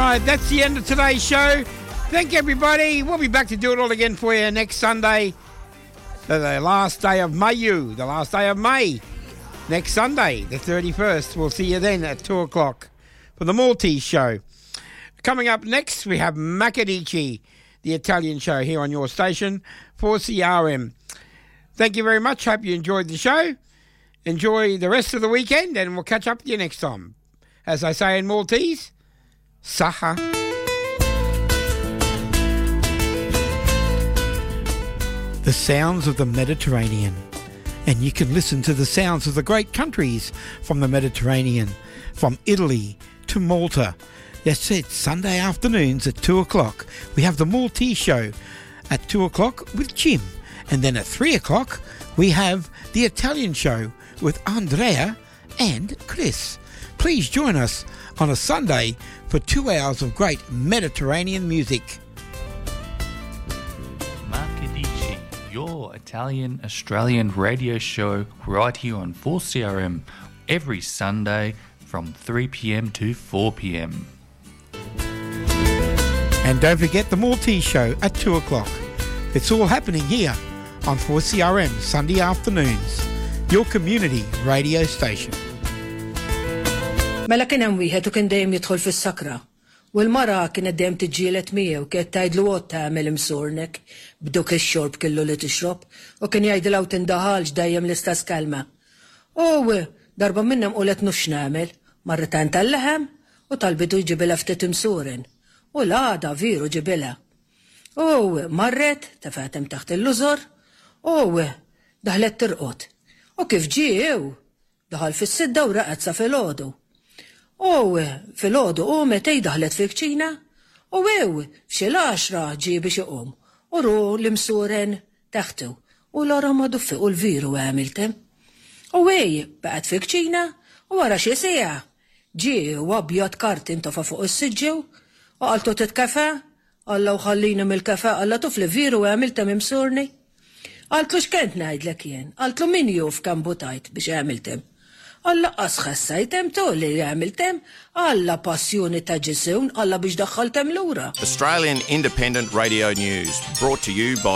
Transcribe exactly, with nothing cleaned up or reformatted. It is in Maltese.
Right, that's the end of today's show. Thank you, everybody. We'll be back to do it all again for you next Sunday, the, the last day of Mayu, the last day of May. Next Sunday, the thirty-first. We'll see you then at two o'clock for the Maltese show. Coming up next, we have Macadici, the Italian show here on your station, four C R M. Thank you very much. Hope you enjoyed the show. Enjoy the rest of the weekend, and we'll catch up with you next time. As I say in Maltese, Saha. The sounds of the Mediterranean. And you can listen to the sounds of the great countries from the Mediterranean, from Italy to Malta. That's it, Sunday afternoons at two o'clock. We have the Maltese show at two o'clock with Jim. And then at three o'clock, we have the Italian show with Andrea and Chris. Please join us on a Sunday for two hours of great Mediterranean music. Macadici, your Italian-Australian radio show right here on four C R M every Sunday from three P M to four P M. And don't forget the Maltese show at two o'clock. It's all happening here on four C R M Sunday afternoons, your community radio station. Mela kien hemm wieħed u kien dejjem jidħol fis-sakra. U l-mara kienet dejjem tiġġieled miegħu kienet tgħidlu għod tagħmel imsurnek b'duk ix-xorb kellu li tixrob u kien jgħidilha u tindaħalx dejjem l-istess kelma. U darba minnhom qulet nux nagħmel, marret għand tal-leħem u talbitu jġibilha ftit imsuren. U l-għada veru ġibilha. U marret tefgħetem taħt il-lużor u daħlet tirqod. U kif ġiew, daħal fis-sidda u raqad sa filgħodu. U filgħodu u metej daħlet fil-kċina u ew f'xi l-għaxra ġie biex iqum u ru l-imsuren taħtu u l-ora ma duffi u l-viru għamiltem. U ej baqgħet fil-kċina u wara xi siegħa ġie u abjad karti intofa fuq is-siġġew u qaltu titkafa, Alla u ħallini mill-kafe, Alla tuf li viru għamiltem imsurni. Qaltlu x'kent ngħidlek jien, qaltlu min juf kemm butajt biex għamiltem. Alla qas ħassajtem tu li għamiltem, Alla passjoni ta' ġisun, Alla biex daħħaltem lura. Australian Independent Radio News, brought to you by